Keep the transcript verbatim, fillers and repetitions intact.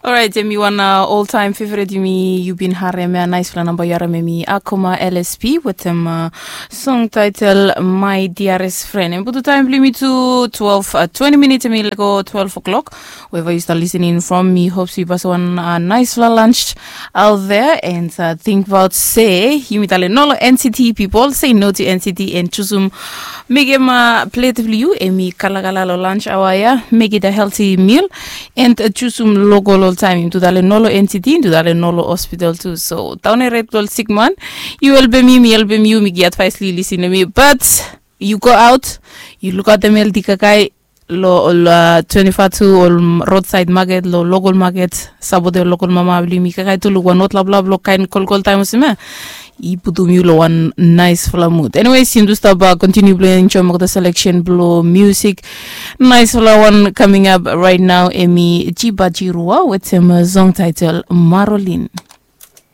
Orait, em i wan uh, all time favorite yumi, yu bin harem ya, naispela namba yu harem em i Akoma L S P wetem uh, song title My Dearest Friend. Em putu taim bilong yumi tu twelve, uh, twenty minutes em i lego twelve o'clock. Wherever you start listening from, mi hope so you pass one uh, nice la lunch out there and uh, think about say yumi tale no lo N C T people, say no to N C T and chusum mekim uh, plate bilong you em i kalakala lo lunch hour ya, make it a healthy meal and uh, chusum local all time. Yumi tu tale no lo N C T, yumi tu tale no lo hospital tu. So down a red gold sick man, you help me, mi help you, mi get advice li listen to me, but you go out, you look at them healthy kakai, lo ol uh, twenty-four tu ol roadside market, lo local market, sapote ol local mama bilong yumi kakai tu luk wan ot laplap lo kain kolkol taim olsem ya. I putum yu lo wan naispela mood. Anyways, yumi tu stap uh, continue bilong enjoy mokta selection bilong music. Naispela one coming up right now, em i Jiba Jirua wetem uh, song title Marolin.